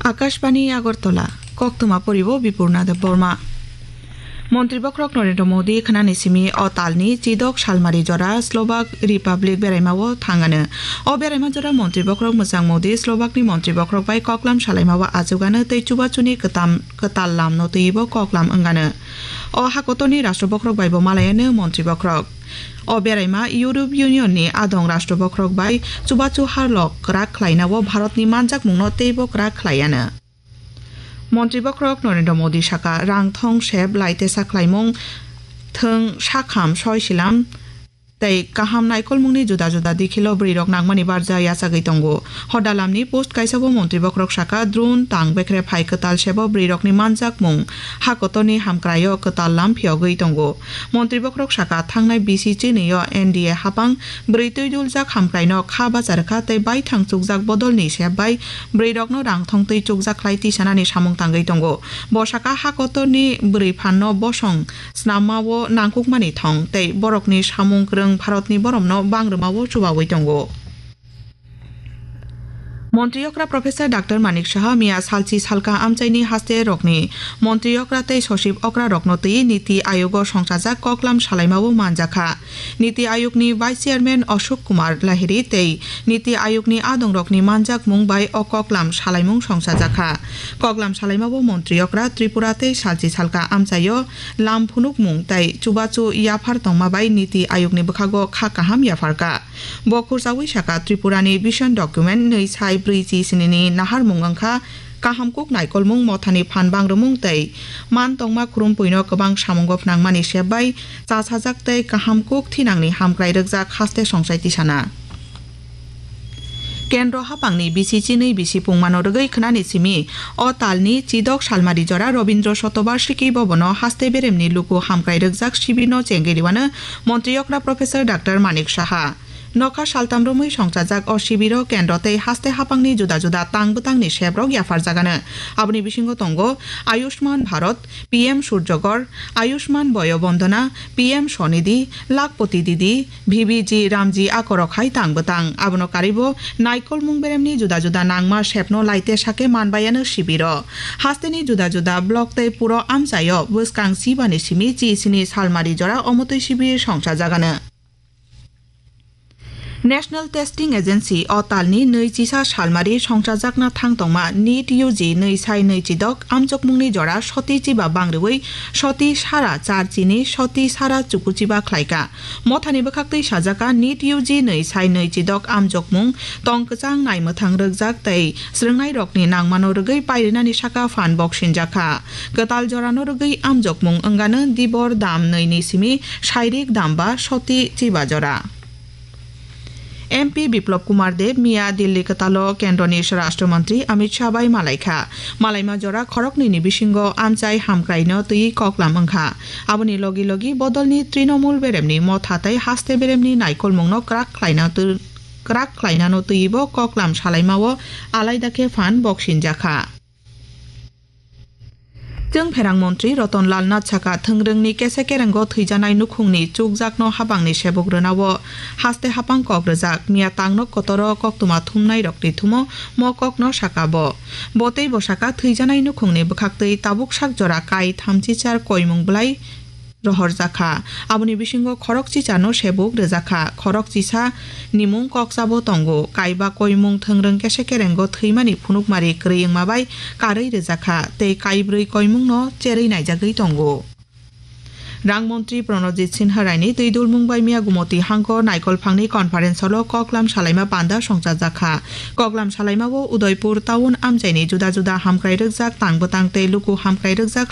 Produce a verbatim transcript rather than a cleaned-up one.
Akashbani Agartala, koktwma poribo Bipurna Debbarma. Montri bokhorok Narendra Modi khnani simi o talni chidok salmari jora Slovak Republic beraimao thangano. O beraima jora montri bokhorok mwchang Modi Slovakni montri bokhorok bai koklam salaimao achugano tei chubachuni kwtam-, kwtal lamno twibo koklam wngano. O hakotorni rashtra bokhorok baibo malayano montri bokhorok. O beraima Europe Union ni adong rashtra bokhorok bai chubachu harlok kwrak khlainao Bharatni manjakmungno teibo kwrak khlaiano. Montri bokhorok Narendra Modi saka, rang thong sep lai tesa khlaimung, thwng sakham soi silam tei kaham naikolmungni juda juda dikhilo bwrwirok nangmani barja yachagwi tongo. Hodalamni post kaisao montri bokhorok saka, drone tang bekre phai kwtal sebo bwrwirokni manjakmung hakotorni hamkraio kwtal lam phiyogwi tongo. Montri bokhorok saka, thangnai bisi chinwi-o N D A hapang bwrwi twi duljak hamkraino kha bacha rwkha tei baithang chukjak bodolni sep bai bwrwirokno rang thong twi chukjak khlai tisanani samung tangwi tongo. Bo saka, hakotorni bwrwi phanno bosong snamma-o nangkukmani thong tei borokni samung kwrwng Bharatni boromno bang rwmao chubawi tongo. Montri okra Professor Doctor Manik Saha miya salchi salka amchaini haste rokni montri okra tei sochib okra rokno twi Niti Ayogo songchajak koklam salaimao manjakha. Niti Ayogni Vice Chairman Ashok Kumar Lahiri tei Niti Ayogni adongrokni manjakmung bai o koklam salaimung songchajakha. Koklam salaimao montri okra Tripura tei salchi salka amchaio lam phunukmung tei chubachu yaphar tongma bai Niti Ayogni bwkhago kha kaham yapharkha. Bo khursaui saka, Tripurani Vision Document nwi sai brwi chi sinini naharmung wngkha, kaham kuk naikolmung, mothani phan bangrwmung tei man tongma khurumpuino kwbang samungo phnangmani sep bai chasajak tei kaham kuk thinangni hamkrai rwkjak haste songchai tisana. Kendro hapangni bisi chinwi bisi pungmano rwgwi khnani simi o talni chidok salmari jora Robindro Shatobarshiki Bhabono haste beremni luku hamkrai rwkjak sibirno chengwi rwano montri okra Professor Doctor Manik Saha. Nokha saltam romwi songchajak o sibiro kendro tei haste hapangni juda juda tang bwtangni seprok yapharjagano. Aboni bisingo tongo Ayushman Bharat, P M Surjagor, Ayushman Boyo Bondona, P M Swanidhi, Lakhpati Didi, V V G Ramji akorok hai tang bwtang. Abono karwibo naikolmung beremni juda juda nangma sepno laite sake manbayano sibiro. Hasteni juda juda block tei puro amchaio bwskang chibani simi chi sini salmari jora omotwi sibir songchajagano. National Testing Agency o talni nwi chisa salmari songchajakna thang tongma NEET U G nwi sai nwi chidok amchokmungni jora soti chiba bangrwi soti sara char chini soti sara chukuchiba khlaika. Mothani bwkhaktwi sajaka NEET U G nwi sai nwi chidok amchokmung tong kwchang naimwthang rwkjak tei swrwngnairokni nangmano rwgwi pairinani saka phan boksinjakha. Kwtal jorano rwgwi amjokmung wngano dibor dam nwi ni simi sairik dam ba soti chiba jora. M P Biplab Kumar Deb miya Delhi kwtalo kendroni Swarashtra Mantri Amit Shah bai malaikha. Malaima jora khoroknwi ni bisingo amchai hamkraino twi koklam wngkha. Aboni logi logi bodolni Trinamool beremni motha tei haste beremni naikolmungno kwrak khlaina tw-, kwrak khlainano twibo koklam salaimao alaida khe phan boksinjakha. Chwng pherang montri Roton Lal Nath saka, thwngrwngni kese kerengo thwijanai nukhungni chukjakno habangni sebuk rwnao haste hapang kok rwjak. Miya tangno kotoro koktwma thumnairokni thumo mo kokno saka bo. Bo tei bo saka, thwijanai nukhungni bwkhaktwi tabuk sak jora kai thamchichar koimung bwlai rohorjakha. Aboni bisingo khorok chichano sebuk rwjakha, khorok chisa nimung koksa bo tongo. Kaiba koimung thwngrwng kese kerengo thwimani phunukmari kwrwi wngma bai karwi rwjakha tei kaibrwi koimungno cherwi naijagwi tongo. Rang montri Pranojit Sinha Raini twi dulmung bai miya Gumoti hangkor naikol phangni conference hall-o koklam salaima panda songchajakha. Koklam salaimao Udaipur town amchaini juda juda hamkrai rwkjak tang bwtang tei luku hamkrai rwkjak